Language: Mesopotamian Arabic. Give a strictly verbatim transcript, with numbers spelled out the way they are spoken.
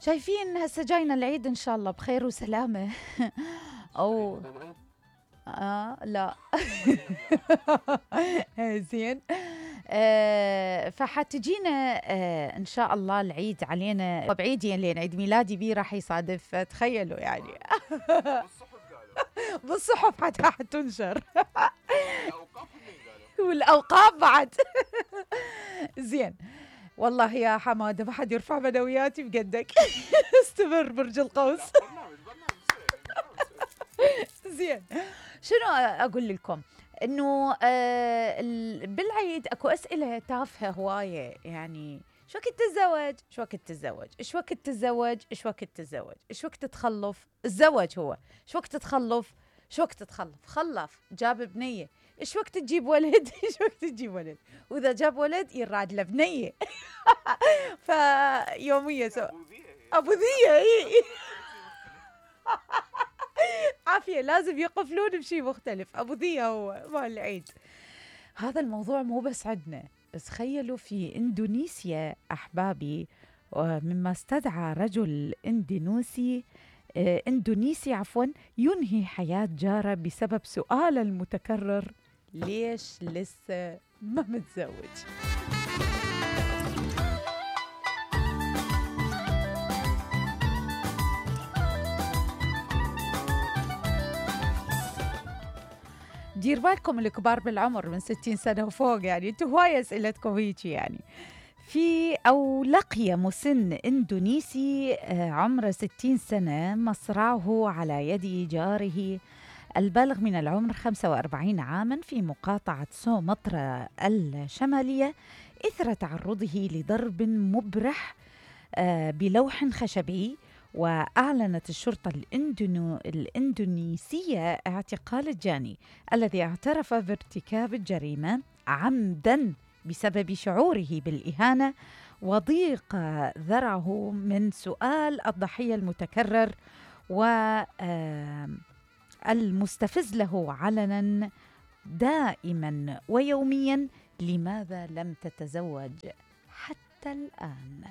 شايفين هسه جاينا العيد ان شاء الله بخير وسلامه. او آه لا. زين. آه فحتجينا آه ان شاء الله العيد علينا بعيدين لين عيد ميلادي بي راح يصادف، تخيلوا يعني. بالصحف حتى حتنشر. والاوقاف بعد. زين. والله يا حماده ما حد يرفع معنوياتي بقدك. استمر برج القوس. زين. شنو اقول لكم؟ انه آه بالعيد اكو اسئله تافهه هوايه، يعني شو وقت تتزوج؟ شو وقت تتزوج؟ ايش وقت تتزوج؟ ايش وقت تتزوج؟ ايش وقت تتخلف؟ الزواج هو ايش وقت تتخلف؟ شو وقت تتخلف؟ خلف جاب بنيه، ايش وقت تجيب ولد؟ ايش وقت تجيب ولد؟ واذا جاب ولد يراد له بنيه. فيوميه سو ابو ذيه. اي عافيه لازم يقفلون بشيء مختلف. ابو ذيه هو مال العيد. هذا الموضوع مو بس عندنا، بس تخيلوا في اندونيسيا احبابي، مما استدعى رجل اندونيسي آه اندونيسي عفوا ينهي حياة جاره بسبب سؤاله المتكرر: ليش لسه ما متزوج؟ دير بالكم الكبار بالعمر من ستين سنة وفوق، يعني انتوا هواية اسئلتكم هيك. يعني في أو لقي مسن إندونيسي عمره ستين سنة مصرعه على يد جاره البالغ من العمر خمسة وأربعين عاما في مقاطعة سومطرة الشمالية إثر تعرضه لضرب مبرح بلوح خشبي. وأعلنت الشرطة الإندونو الإندونيسية اعتقال الجاني الذي اعترف بارتكاب الجريمة عمدا بسبب شعوره بالإهانة وضيق ذرعه من سؤال الضحية المتكرر والمستفز له علنا دائما ويوميا: لماذا لم تتزوج حتى الآن؟